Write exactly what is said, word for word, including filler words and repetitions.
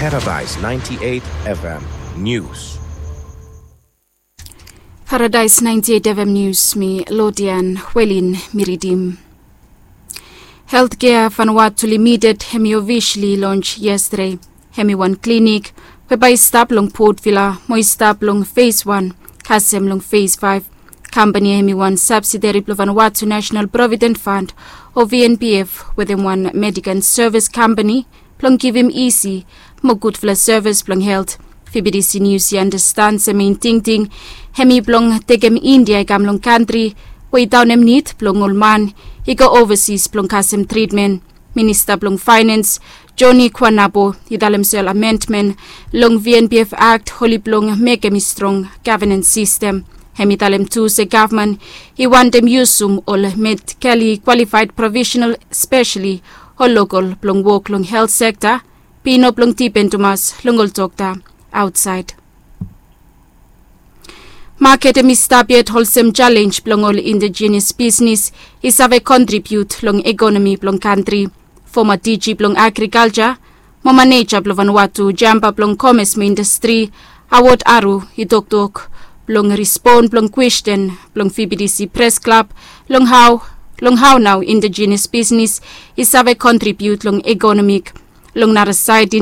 Paradise ninety-eight F M News. Paradise ninety-eight F M News, mi Lodian Welin mi ridim. Healthcare Vanuatu Limited hemi officially launch yesterday. Hemi wan klinik we bae i stap long Port Vila mo i stap long phase one kasem long phase five. Kampani hemi wan subsidiary blong Vanuatu National Provident Fund o V N P F wetem wan medical service kampani blong givim isi mo gudfala sevis blong helt. V B T C News i andastan se mein tingting hemi blong tekem India i kam long kantri we i daonem nid blong ol man i go overseas blong kasem tritmen. Minista blong Finance Johnny Kwanabo i talem se ol amendment long V N P F Act oli blong mekem i strong governance system. Hemi talem tu se gavman i wantem yusum ol medically qualified professional, especially ol local blong wok long health sector, be i no blong dipen tumas long ol dokta aotsaed. Maket hemi stap yet olsem jalenj blong ol indigenous bisnis i save kontribiut long ekonomi blong kantri. Foma D G blong agrikalja mo maneja blong Vanuatu jamba blong komes mo indastri Awod Aru i toktok blong rispon blong kwesten blong V B T C Pres Klab long hao, long hao nao indigenous bisnis i save kontribiut long ekonomik. Long nara saed,